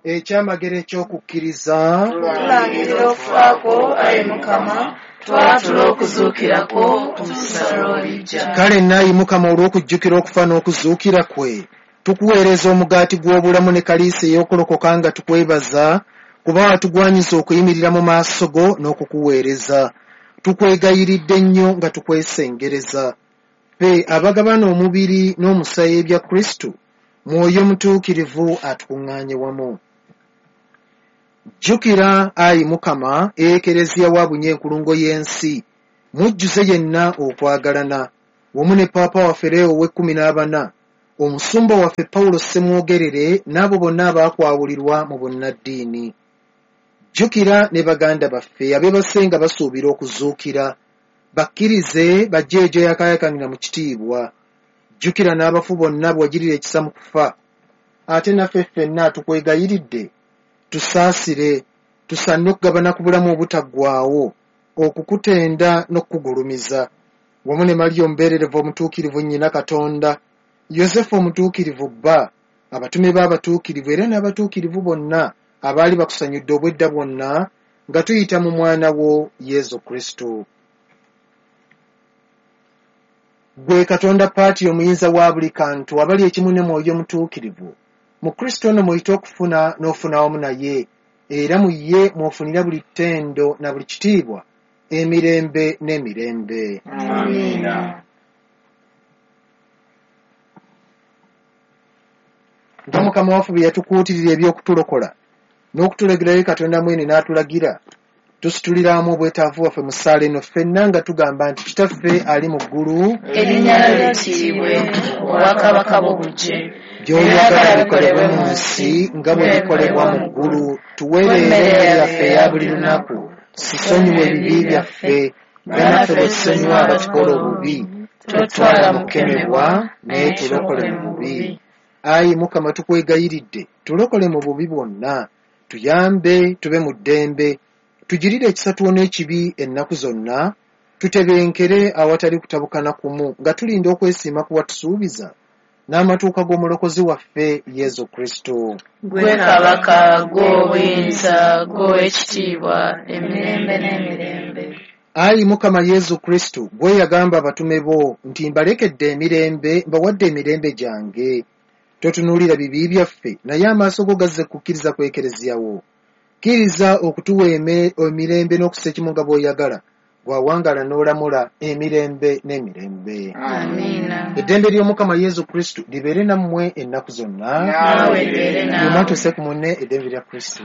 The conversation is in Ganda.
Ekyamagero eky'okukkiriza. Tulangirira okufa kwo, ayi Mukama, twatula okuzuukira kwo okutuusa lw'olijja. Kale naayi Mukama, olw'okujjukira okufa n'okuzuukira kwe, tukuweereza omugaati gw'obulamu ne kaliisa ey'okulokoka nga tukwebaza, kuba watugwanyiza okuyimirira mu maaso go n'okukuweereza. Tukwegayiridde nnyo nga tukwesengereza. Ffe abagabana omubiri n'omusaayi ebya Kristo, Mwoyo Mutuukirivu atukuŋŋaanye wamu. Jjukira, ayi Mukama, Ekereziya wa bunye enkulungo y'ensi, mujjuze yenna okwagalana, wamu ne Paapa waffe Leo ow'ekkumi n'abana, omusumba waffe Pawulo Ssemwogerere n'abo bonna abaakwawulirwa mu bunnaddiini. Jjukira ne baganda baffe abeebase nga basuubira okuzuukira, bakkirize bajje gy'oyakaayakanira mu kitiibwa. Jjukira n'abafu bonna be wagirira ekisa mu kufa, ate naffe ffenna tukwegayiridde, tusaasire, tusaanire okugabana ku bulamu obutaggwaawo, okukutenda n'okukugulumiza, wamu ne Mariya omubeererevu omutuukirivu nnyina Katonda, Yosefu omutuukirivu bba, abatume b'abatuukirivu era n'abatuukirivu bonna abaali bakusanyudde obwedda bwonna, nga tuyita mu mwana wo Yezu Kristo. Ggwe Katonda Paati omuyinza wa buli kantu, abali ekimu ne Mwoyo Mutuukirivu, mu Kristo ono mw'oyita okufuna n'ofuna wamu naye, era mu ye mw'ofunira buli ttendo na buli kitiibwa, emirembe n'emirembe. Amiina. Nga Mukama waffe bwe yatukuutirira eby'okutulokola n'okutulagirayo Katonda mwene n'atulagira, tusituliramu obwetaavu bwaffe mu ssaala eno ffenna nga tugamba nti, Kitaffe ali mu ggulu, Erinnya lyo litiibwe, obwakabaka bwo bujje, by'oyagala bikolebwe mu nsi nga bwe bikolebwa mu ggulu. Tuwe leero emmere yaffe eya buli lunaku. Tusonyiwe ebibi byaffe nga naffe bwe tusonyiwa abatukola obubi. Totutwala mu kukemebwa, naye tulokole mu bubi. Ayi Mukama, tukwegayiridde, tulokole mu bubi bwonna, tuyambe tube mu ddembe, tugirire ekisa tuwone ekibi ennaku zonna, tutebenkere awatali kutabukana kumu nga tulinda okwesiima ku watusuubiza n'amatuuka g'Omulokozi waffe Yezu Kristo. Ggwe Kabaka, ggwe obuyinza, ggwe ow'ekitiibwa, emirembe n'emirembe. Ayi Mukama Yezu Kristo, ggwe yagamba abatume bo nti mbalekedde emirembe, mbawadde emirembe gyange. Totunuulira bibi byaffe, naye amaaso go gazze kukkiriza ku Ekereziya wo. Kkiriza okutuwa emirembe n'okussa ekimu nga bw'oyagala, gw'awangaala n'olamula emirembe n'emirembe. Amiina. Eddembe ly'Omukama Yezu Kristo libeere nammwe ennaku zonna. Naawe libeere naawe. Byonna tusse ku munne eddembe lya Kristo.